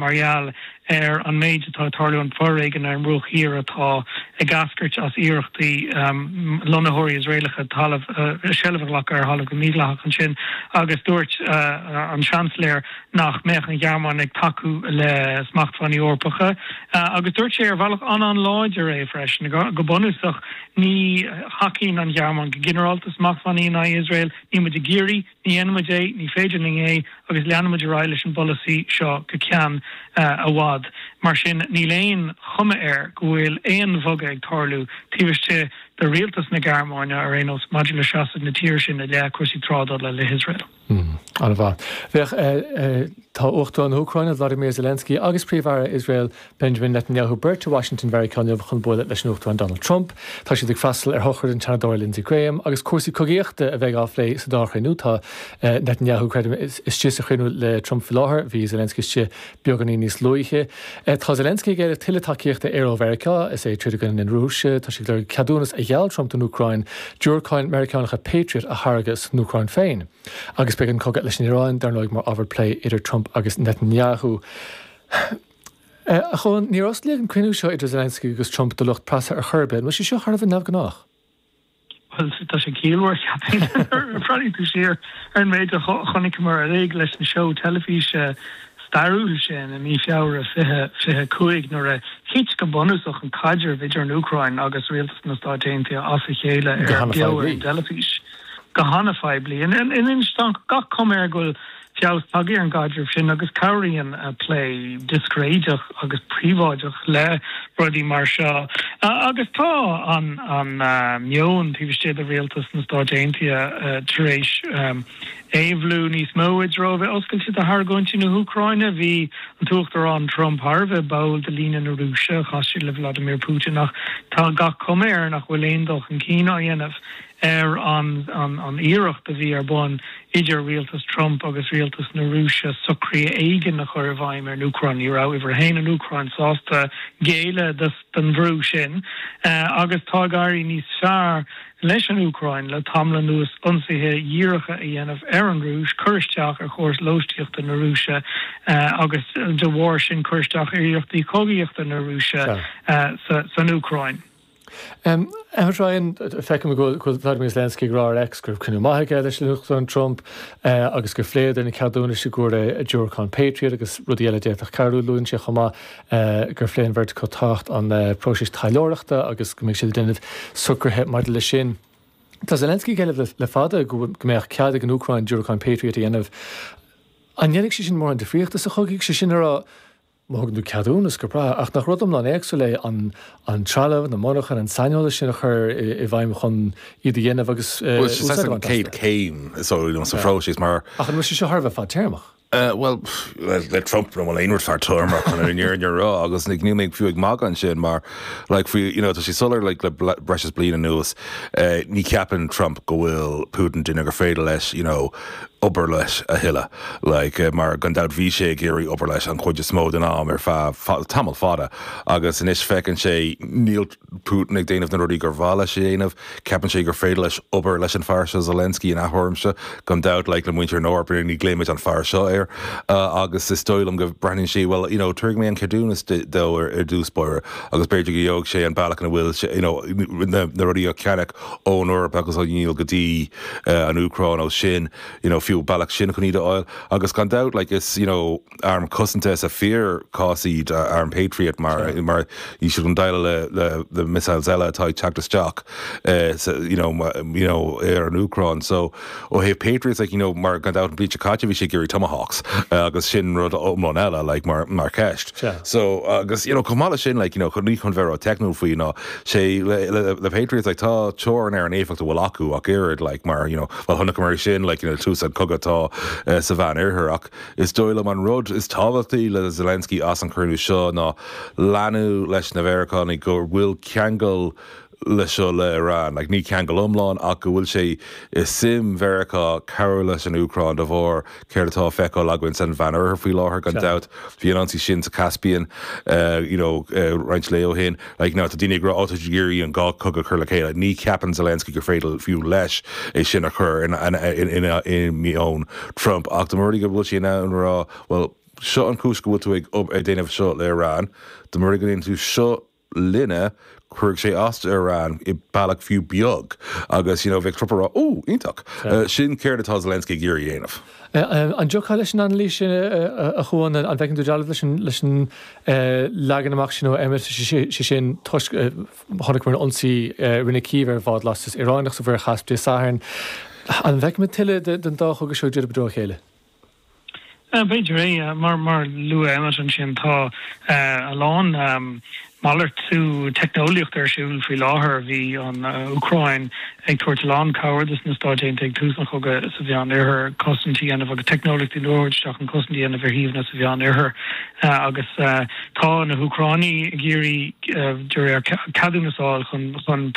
Mar gheall ar an méid atá ag tarlú, an foréigean ar an mBruach Thiar atá ag eascairt as iarrachtaí lonnaitheoirí Iosraelacha talamh, seilbh a ghlacadh ar thalamh go mídhleathach ansin agus dúirt an Seansailéir nach mbeadh an Ghearmáin ag tacú le smachtbhannaí Eorpacha agus dúirt sé ar bhealach an-an-láidir é freisin. Go bunúsach ní thacaíonn an Ghearmáin go ginearálta smachtbhannaí in aghaidh Iosrael, níl muid ag iarraidh, Ní dhéanfaidh muid é, ní féidir linn é agus leanfaidh muid ar aghaidh leis an bpolasaí seo go ceann i bhfad. Mar sin, níl aon chuma air go bhfuil aon bhogadh ag tarlú taobh istigh de rialtas na Gearmáine ar aon nós maidir le seasamh na tíre sin i leith cúrsaí trádála le hIosrael. An-mhaith. Féach, tá Uachtarán na hÚcráine, Vladimir Zelensky agus Príomh-Aire Iosrael, Benjamin Netanyahu beirt i Washington Mheiriceá inniu chun bualadh leis an Uachtarán Donald Trump. Tá siad ag freastal ar shochraid an tSeanadóra Lindsey Graham agus cúrsaí cogaíochta a bheidh á phlé sa dá chruinniú. Tá Netanyahu, creidim, istigh sa chruinniú le Trump faoi láthair. Bhí Zelensky istigh beagáinín níos luaithe. Tá Zelensky ag éileamh tuilleadh tacaíochta aeir ó Mheiriceá is é ag troid i gcoinne na Rúise. Tá sé ag lorg ceadúnas a gheall Trump don Úcráin diúracáin Meiriceánacha Patriot a tháirgeadh san Úcráin féin. Agus beidh an cogadh leis an Iaráin, dar ndóigh, mar ábhar plé idir Trump agus Netanyahu. A Chualáin, níor osclaíodh an cruinniú seo idir Zelensky agus Trump do lucht preasa ar chor ar bith. An bhfuil sé seo thar a bheith neamhghnách? Bhuel, tá sé ciallmhar, cheapfainn. Nuair a bhreathnaíonn tú siar ar an méid a chonaiceamar uilig leis an seó teilifíse stairiúil sin i mí Feabhra 2025 nuair a thit go bunúsach an caidreamh idir an Úcráin agus rialtas na Stáit Aontaithe as a chéile ar beo ar an dteilifís go han-phoiblí. Anois tá gach cuma air go bhfuil feabhas tagtha ar an gcaidreamh sin agus cabhraíonn plé discréideach agus príobháideach le rudaí mar seo. Agus tá an meon taobh istigh de rialtas na Stáit Aontaithe tar éis éabhlú níos mó i dtreo a bheith oscailte do argóintí na hÚcráine. Bhí an tUachtarán Trump thar a bheith báúil do líne na Rúise, chas sé le Vladimir Putin ach tá gach cuma air nach bhfuil aon dul chun cinn á dhéanamh ar an iarracht a bhí ar bun idir rialtas Trump agus rialtas na Rúise socruithe éigin a chur i bhfeidhm ar an Úcráin. Ní raibh uimhir a haon, an Úcráin, sásta géilleadh don bhrú sin agus tá ag éirí níos fearr leis an Úcráin le tamall anuas ionsaithe dhíreacha a dhéanamh ar an Rúis, cur isteach ar chóras lóistíochta na Rúise agus de bharr sin cur isteach ar iarrachtaí cogaíochta na Rúise san Úcráin. Emmet Ryan, feicim go bhfuil Vladimir Zelensky ag rá ar X go raibh cruinniú maith aige leis an Uachtarán Trump agus gur phléadar na ceadúnais i gcomhair diúracán Patriot agus rudaí eile a d'fhéadfadh cabhrú. Luann sé chomh maith gur phléigh an bheirt acu tábhacht an próisis taidhleoireachta agus go mbeidh siad ag déanamh socruithe maidir leis sin. Tá Zelensky ag éileamh le fada go mbeadh cead ag an Úcráin diúracáin Patriot a dhéanamh. An ndéanfaidh sé sin mórán difríochta sa chogadh? Sé sin a rá, Má thugann tú ceadúnas, go breá, ach nach rud iomlán éagsúil é an an trealamh, na monarchana, an saineolas sin a chur i bhfeidhm chun iad a dhéanamh agus Bhuel, sé úsáid a an bhaint chéad astu? chéim is dóigh liom sa phróiseas mar. Ach an bhfuil sé seo thar a bheith fadtéarmach? Bhuel, le Trump an bhfuil aon rud fadtéarmach chun an fhírinne a rá agus níl mé fiú ag magadh ansin mar like faoi, you know, tá sé soiléir like le breis is bliain anuas ní cheapann Trump go bhfuil Putin duine gur féidir leis, you know, obair leis a thuilleadh. Like, mar gan dabht bhí sé ag iarraidh obair leis an chuid is mó den am ar feadh tamall fada agus anois feiceann sé níl Putin ag déanamh na rudaí gur mhaith leis a dhéanamh. Ceapann sé gur féidir leis obair leis an fear seo Zelensky in athuair gan dabht like le muintir na hEorpa ní ghlaoimid an fear seo air agus is dóigh liom go breathnaíonn sé well you know tabharfaidh mé an ceadúnas dó ar dtús báire agus b'fhéidir go gheobhaidh sé an bealach ina bhfuil sé you know na rudaí á cheannach ón Eoraip agus á ndíol go dtí an Úcráin ó sin, you know, fiú bealach sin chun iad a fháil. Agus gan dabht, like, is, you know, arm cosanta sa fíorchás iad arm Patriot mar, mar níl siad chun déileáil le, le, le missiles eile atá ag teacht isteach, sa, you know, you know, ar an Úcráin. So, ó thaobh Patriots, like, you know, mar gan dabht an bhliain seo caite bhí sé ag iarraidh Tomahawks, agus sin rud iomlán eile, like, mar, mar cheist. So, agus, you know, chomh maith leis sin, like, you know, ní chun bheith ró-teicniúil faoi ná sé le, le Patriots, like, tá teorainn ar an éifeacht a bhfuil acu ach oiread, like, mar, you know, bhuel, chonaiceamar é sin, like, you know, tús an cogadh atá sa Mheán Oirthear ach is dóigh liom an rud is tábhachtaí le Zelensky as an chruinniú seo ná leathnú leis na Mheiriceánaigh go bhfuil ceangal le seo le Iran, like, ní ceangal iomlán ach go bhfuil sé i suim Mheiriceá cabhrú leis an Úcráin de bharr céard atá á feiceáil againn san Mheán Oirthear faoi láthair gan dabht. Bhí an ionsaí sin sa Caspian you know roinnt lae ó shin. Like now tá daoine ag rá oh tá siad ag iarraidh an dhá chogadh a chur le chéile. Ní cheapann Zelensky gur féidir fiú leis é sin a chur in in in i meon Trump ach dá mba rud é go bhfuil sé in ann a rá well. seo an chúis go bhfuil tú ag ag déanamh seo le Iran, dá mba rud é go ndéanann tú seo linne, cuirfidh sé as d'Iran i bealach fiú beag agus you know bheadh Trump ag rá Ó, iontach! Sin céard atá Zelensky ag iarraidh a dhéanamh. An dtiocfá leis an anailís sin, a Chuan? An bhfeiceann tú dealramh leis an leis an leagan amach sin ó Emmet, sé sin toisc chonaiceamar an ionsaí a rinne Cív ar bhád lastais Ioránach sa Mhuir Chaisp Dé Sathairn. An bhfeicfimid tuilleadh den dá chogadh seo ag druidim i dtreo a chéile? B'fhéidir é. Mar a luaigh Emmet ansin, tá a lán malartú teicneolaíochta ar siúl faoi láthair. Bhí an Úcráin ag tabhairt a lán cabhair dos na Stáit Aontaithe ag tús an chogaidh sa Mheán Oirthear, cosaint a dhéanamh agus teicneolaíochtaí nua a thabhairt isteach chun cosaint a dhéanamh ar shuíomhanna sa Mheán Oirthear. Agus tá na hÚcránaigh ag iarraidh, de réir ceadúnas a fháil chun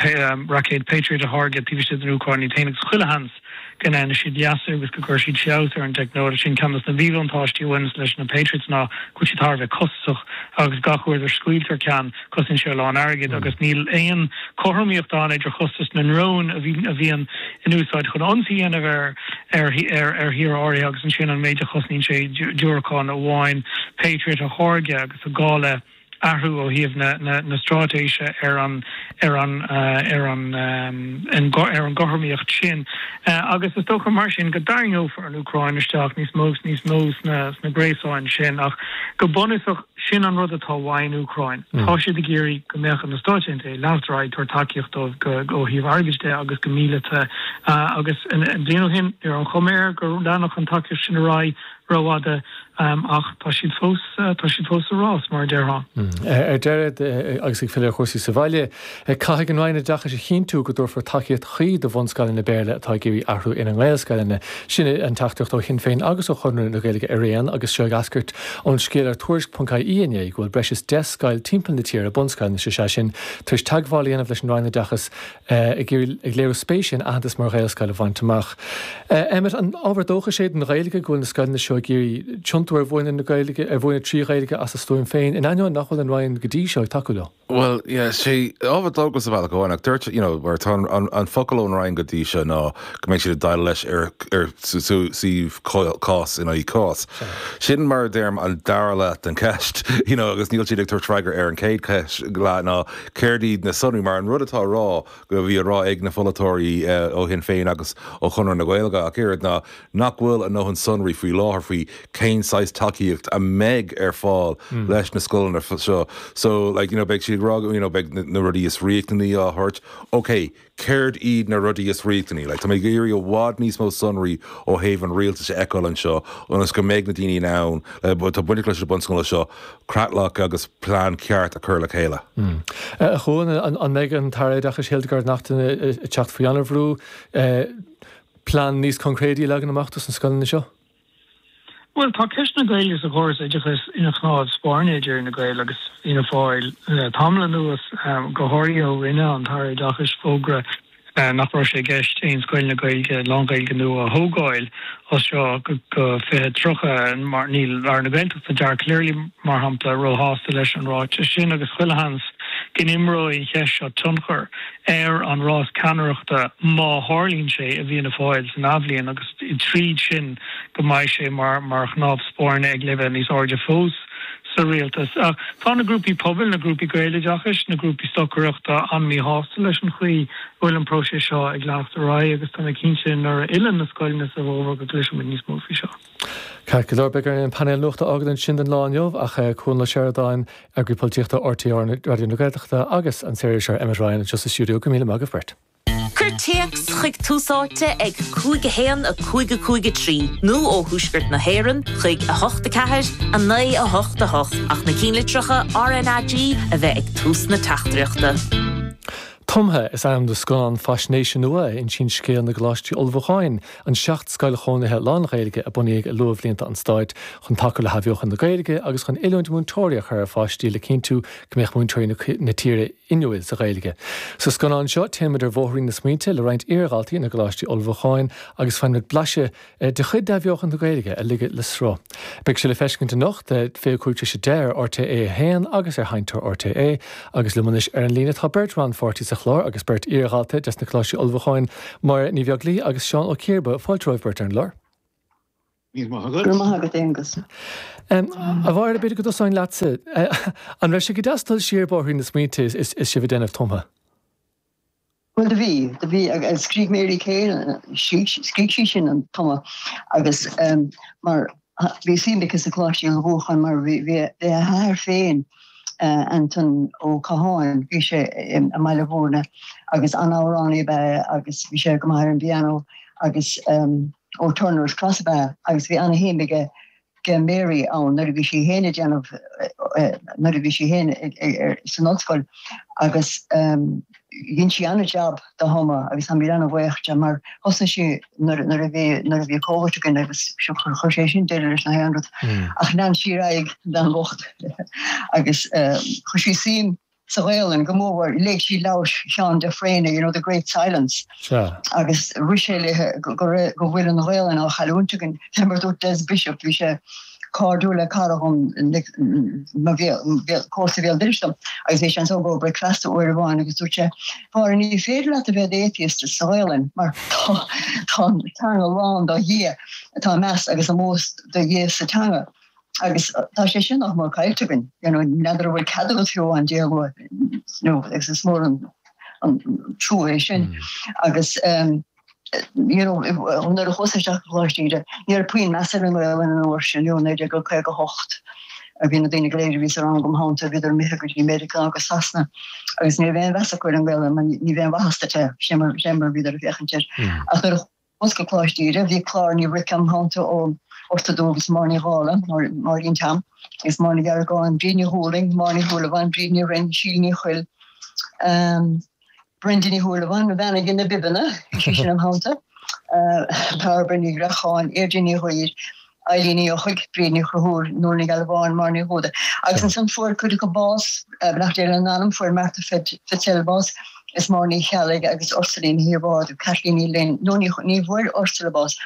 raicéid Patriot a tháirgeadh taobh istigh den Úcráin iad féin agus chuile sheans go ndéanfaidh siad leasú agus go gcuirfidh siad feabhas ar an teicneolaíocht sin. Ceann de na míbhuntáistí a bhaineanns leis na Patriots ná go bhfuil siad thar a bheith costasach agus gach uair a scaoiltear ceann, cosnaíonn sé a lán airgid agus níl aon chothromaíocht ann idir chostas na ndrón a bhíonn in úsáid chun ionsaí a dhéanamh ar ar thír áirithe agus ansin an méid a chosnaíonn sé diúracán amháin Patriot a tháirgeadh agus tá gá le athrú ó thaobh na straitéise ar an ar an ar an ar an gcothromaíocht sin agus is dócha mar sin go dtarraingeofar an Úcráin isteach níos mó agus níos mó sna sna gréasáin sin ach go bunúsach sin an rud atá uaidh an Úcráin. Tá siad ag iarraidh go mbeadh na Stáit Aontaithe ag leanacht ar aghaidh ag tabhairt tacaíocht dóibh go ó thaobh airgid de agus go míleata agus bliain ó shin ní raibh an chuma air go leanfadh an tacaíocht sin ar aghaidh rófhada ach tá siad fós, tá siad fós sa rás, mar a déarfá. Ar deireadh, agus ag filleadh ar chúrsaí sa bhaile, caithfidh an Roinn Oideachais a chinntiú go dtabharfar tacaíocht chuí do bhunscoileanna Béarla atá ag iarraidh athrú ina nGaelscoileanna. Sin an teachtaireacht ó Shinn Féin agus ó Chonradh na Gaeilge araon agus seo ag eascairt ón scéal ar Tuairisc.ie inné go bhfuil breis is 10 scoil timpeall na tíre, bunscoileanna is ea sin, tar éis teagmháil a dhéanamh leis an Roinn Oideachais ag iarraidh, ag léiriú spéise in aitheantas mar Ghaelscoil a bhaint amach. Emmet, an ábhar dóchais é don Ghaeilge go bhfuil na scoileanna seo ag iarraidh tiontú ar mhúineadh na Gaeilge, ar mhúineadh trí Ghaeilge as a stuaim féin, in ainneoin nach bhfuil an Roinn go dtí seo ag tacú leo? Bhuel, yeah, sé ábhar dóchais ar bhealach amháin, ach dúirt, you know, mar tá an, an focal ón Roinn go dtí seo ná go mbeidh siad ag déileáil leis ar, ar suíomh cás in aghaidh cás. Sin mar a deirim an dara leath den cheist, you know, agus níl siad ag tabhairt freagra ar an chéad cheist leath ná Céard iad na sonraí? Mar an rud atá á rá, go bhí á rá ag na polaiteoirí ó Shinn Féin agus ó Chonradh na Gaeilge ach oiread, ná nach bhfuil a ndóthain sonraí faoi láthair faoi cén saghas tacaíocht a mbeidh ar fáil leis na scoileanna seo. So, like, you know, beidh siad ag rá, you know, beidh na rudaí is riachtanaí á thabhairt. Ok, Céard iad na rudaí is riachtanaí? Like, tá mé ag iarraidh i bhfad níos mó sonraí ó thaobh an rialtais a fheiceáil anseo ionas go mbeidh na daoine in ann, atá bainteach leis na bunscoileanna seo, creatlach agus plean ceart a chur le chéile. A Chuain, an mbeidh an tAire Oideachais Hildegarde Naughton ag teacht faoi an-bhrú plean níos coincréidí a leagan amach dos na scoileanna seo? Bhuel, tá ceist na Gaeilge sa chóras oideachais ina chnámh spairne idir Fhine Gael agus Fianna Fáil le tamall anuas, go háirithe ó rinne an tAire Oideachais fógra nach raibh sé i gceist aon scoileanna Gaeilge, lán-Ghaeilge nua a thógáil as seo go 2030. Mar níl Aire na Gaeltachta, Dara Calleary, mar shampla, róshásta leis an ráiteas sin agus chuile sheans go n-imreoidh an cheist seo tionchar ar an rás ceannaireachta má tharlaíonn sé i bhFianna Fáil san athbhliain agus tríd sin go mbeidh sé mar mar chnámh spairne ag leibhéal níos airde fós sa rialtas. Ach tá na grúpaí pobail, na grúpaí Gaeloideachais, na grúpaí stocaireachta an-mhíshásta leis an chaoi a bhfuil an próiseas seo ag leanacht ar aghaidh agus tá mé cinnte nuair a fhilleann na scoileanna sa bhfómhar go gcloisfidh muid níos mó faoi seo. Ceart go leor, beidh orainn an painéal nuachta a fhágáil ansin don lá inniu ach Cuan Ó Seireadáin, Eagraí Polaitíochta RTÉ Raidió na Gaeltachta agus an saoririseoir Emmet Ryan anseo sa stiúideo. Go raibh míle maith agaibh beirt. Cuir téacs chuig Tús Áite ag 5 1 5 5 3 nó ó thuaisceart na hÉireann chuig 8 4 9 8 8 ach na cinnlitreacha RnaG a bheith ag tús na teachtaireachta. Tumtha is ainm do scannán faisnéise nua a insíonn scéal na gColáistí Ullmhúcháin, an 7 scoil chónaithe lán-Ghaeilge a bunaíodh i luathbhlianta an stáit chun tacú le hathbheochan na Gaeilge agus chun oiliúint múinteoirí a chur ar pháistí le cinntiú go mbeadh múinteoirí na tíre inniúil sa Ghaeilge. Sa scannán seo, téann muid ar bhóithrín na smaointe le roinnt iardhaltaí na gColáistí Ullmhúcháin agus faigheann muid blaiseadh de chuid d'athbheochan na Gaeilge a ligeadh le sruth. Beidh sé le feiscint anocht, 25 tar éis 10 ar RTÉ 1 agus ar Sheinnteoir RTÉ. Agus liom anois ar an líne tá beirt rannpháirtí sa chlár agus beirt iardhalta des na Coláistí Ullmhúcháin, Máire Ní Bheaglaoí agus Seán Ó Ciarba. Fáilte romhaibh beirt ar an gclár. Míle maith agat. Go raibh maith agat, Aonghus. A Mháire, b'fhéidir go dtosóinn leatsa. An raibh sé go deas dul siar bóithrín na smaointe is sibh ag déanamh Tumtha? Bhuel, do bhí, do bhí, agus scrígh Mary Kay, scrígh sí sin an Tumadh agus mar bhí suim aici sa Choláiste Ullmhúcháin mar bhí, bhí a hathair féin, Anton Ó Catháin, bhí sé i mBaile Mhúirne agus an-amhránaí ab ea é agus bhí sé go maith ar an bpianó agus ó Turner's Cross ab ea é agus bhí ana-shuim aige ge Mary ann nuair a bhí sí féin ag déanamh, nuair a bhí sí féin san ollscoil agus dhein sí an-jab do Thumadh agus táimid an-bhuíoch de mar thosnaigh sí nuair nuair a bhí nuair a bhí Covid againn agus chuir sé sin deireadh leis na haon rud ach lean sí ar aghaidh an bhean bhocht agus chuir sí suim sa Ghaolainn go mór mhór. Léigh sí leabhar Sheáin de Fréine, you know, The Great Silence, agus rith sé léi go raibh, go bhfuil an Ghaolainn á chailliúint againn. Fé mar a dúirt Des Bishop, bhí sé cairdiúil le cara dhom, mo comharsa béal dorais dom, agus bhí sé anso i gcomhair bricfeasta uair amháin agus dúirt sé, Mháire, ní féidir leat a bheith i d'atheist sa Ghaolainn mar tá tá an teanga lán do Dhia, tá meas agus ómós do Dhia sa teanga. Agus tá sé sin nach mór caillte againn, you know, n'fheadar an bhfuil cead agat fiú amháin Dia a lua, you know, agus is mór an an trua é sin. Agus um, you know, nuair a chuas isteach go Coláiste Íde, ní raibh puinn meas ar an nGaelainn an uair sin, you know, 1958, a bhí na daoine go léir a bhí sa rang im theannta, bhíodar imithe go dtí Meiriceá agus Sasana, agus ní raibh aon mheas acu ar an nGaelainn, mar ní raibh aon mhaitheas duit é, sin mar, sin mar a bhíodar ag féachaint air. Ach nuair a Chuas go Coláiste Íde, bhí Clár Ní Bhric im theannta ó Ghort an Dúiche agus Máire Ní Dhála, Máirín Tom, agus Máire Ní Gheargáin, Bríd Ní Dhúlaing, Máire Ní Shúilleabháin, Bríd Ní Rinn, Síle Ní Chuill, Brenda Ní Shúilleabháin, an bhean a dhein na bibeanna, bhí sí sin im theannta, Bairbre Ní Ghreacháin, Deirdre Ní Ghuidhir, Eilín Ní Eochaidh, Bríd Ní Chonchúir, Nuala Ní Ghealbháin, Máire Ní Dhúda. Agus ansan fuair cuid acu bás, beannacht Dé lena n-anam, fuair Martha Fitzell bás, is Máire Ní Cheallaigh agus Ursuline Ní Shíobháin, Caitlín Ní Fhloinn, nó ní ní bhfuair Ursula bás,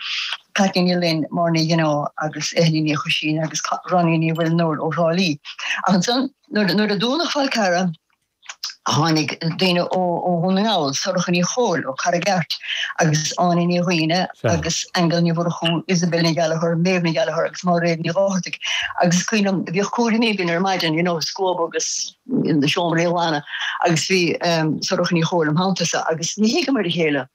Caitlín Ní Fhloinn, Máire Ní Ghineá agus Eithne Ní Choisín agus Ronnie Ní Mhuilneoir ó Thrá Lí. Ach ansan nuair a dúnadh Fál Carrach, Tháinig daoine ó Dhún na nGall, Sorcha Ní Chomhaill ó Carraig Airt agus Áine Ní Dhuibhne agus Aingeal Ní Mhurchú, Isabel Ní Ghallchóir, Méabh Ní Ghallchóir agus Máiréad Ní Dháthartaigh. Agus is cuimhin liom, bhíodh cúraimí againn ar maidin, you know, scuab agus na seomraí a ghlanadh agus bhí Sorcha Ní Chomhaill im theannta-sa agus ní thuigeamar a chéile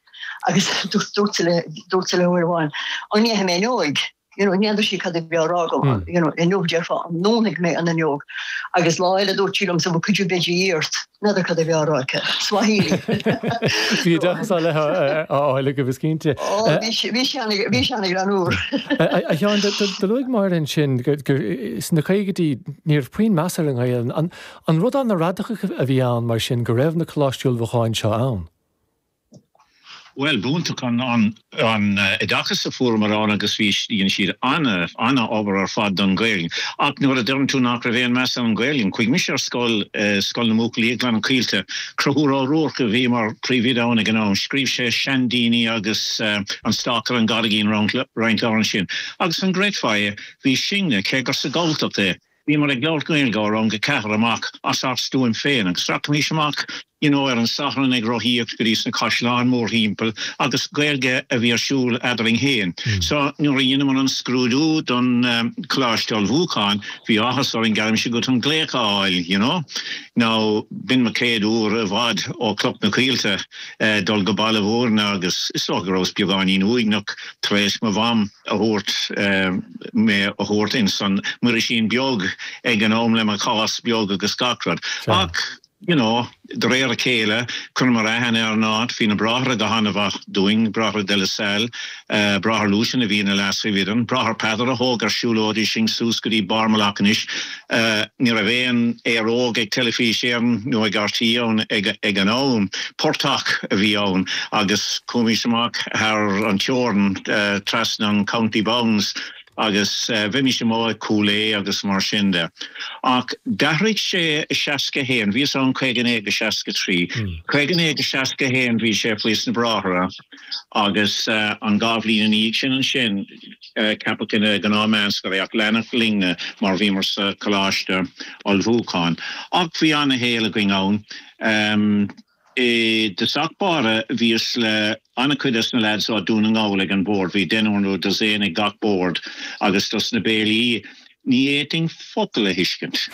agus dúirt sí léi uair amháin, an ndéanfaidh mé fhuinneoig? you know, n'fheadar sí cad a bhí á rá agam, you know, inniu déarfá an ndúnfaidh mé an fhuinneog agus lá eile dúirt sí liomsa could you bheidh ort, n'fheadar cad a bhí á rá aici. Swahili. Bhí oideachas á leith á fháil agaibh is cinnte. Ó, bhí sé, bhí sé ana, bhí sé ana ghreannmhar. A Sheáin, do luaigh Máire ansin gur sna caogaidí ní raibh puinn meas ar an nGaelainn. An, an rud an-radacach a bhí ann mar sin go raibh na coláistí ullmhúcháin seo ann? Bhuel, b'iontach an oideachas a fuaireamar ann agus bhí, dhein siad an-obair ar fad don Ghaeilge. Ach nuair a deireann tú nach raibh aon meas ar an Ghaeilge, chuaigh mise ar scoil, Scoil na mBuachaillí i nGleann na Coillte. Conchúr Ó Ruairc a bhí mar phríomhoide ann ag an am. Scríobh sé Seandaoine agus An Stác ar an gCarraigín roinnt leabhar ansin. Agus an gcreidfeá é, bhí sinne, cé gur sa Ghalltacht é, Bhíomar ag labhairt Gaeilge ó rang a ceathair amach as ár stuaim féin agus rachaimis amach you know ar an Satharn ag rothaíocht go dtí sna caisleáin mórthimpeall agus Gaeilge a bhí ar siúl eadrainn féin. So nuair a dheineamar an scrúdú don Choláiste Ullmhúcháin bhí áthas orainn geallaimse dhuit an glaoch a fháil you know. Now b'in mo chéad uair i bhfad ó Chloch na Coillte dul go Baile Mhúirne agus is dócha go rabhas beagáinín uaigneach tar éis mo mham a thabhairt, mé a thabhairt ins an Muirísín Beag ag an am le mo chás beag agus gach rud. Ach, you know, de réir a chéile, chuireamar aithne ar an áit, bhí na bráithre go han-mhaith dúinn, Bráithre de La Salle, Bráthair Lucian a bhí ina leas-phríomhoide, an Bráthair Peadar a thóg ar siúlóidí sinn suas go dtí barr Mullaghanish. Ní raibh aon aeróg ag Teilifís Éireann nó ag RTÉ ann ag an am. Portach a bhí ann agus chuaimis amach thar an teorainn trasna an County Bounds agus bheimis amuigh ag Cúil Aodha agus mar sin de. Ach d'athraigh sé i 61, bhíos ann 59-63. 59-61 bhí sé faoi sna Bráithre agus an dhá bhliain ina dhiaidh sin ansin, Ceapadh ina ghnáth-mheánscoil é ach leanadh linne mar bhíomar sa choláiste ullmhúcháin. Ach bhí ana-shaol againn ann. I dtosach báire bhíos le an-chuid dos na leaids ó Dún na nGall ag an bhord, bhí deichniúr nó dosaen ag gach bord agus dos na béilí ní fhéadfainn focal a thuiscint.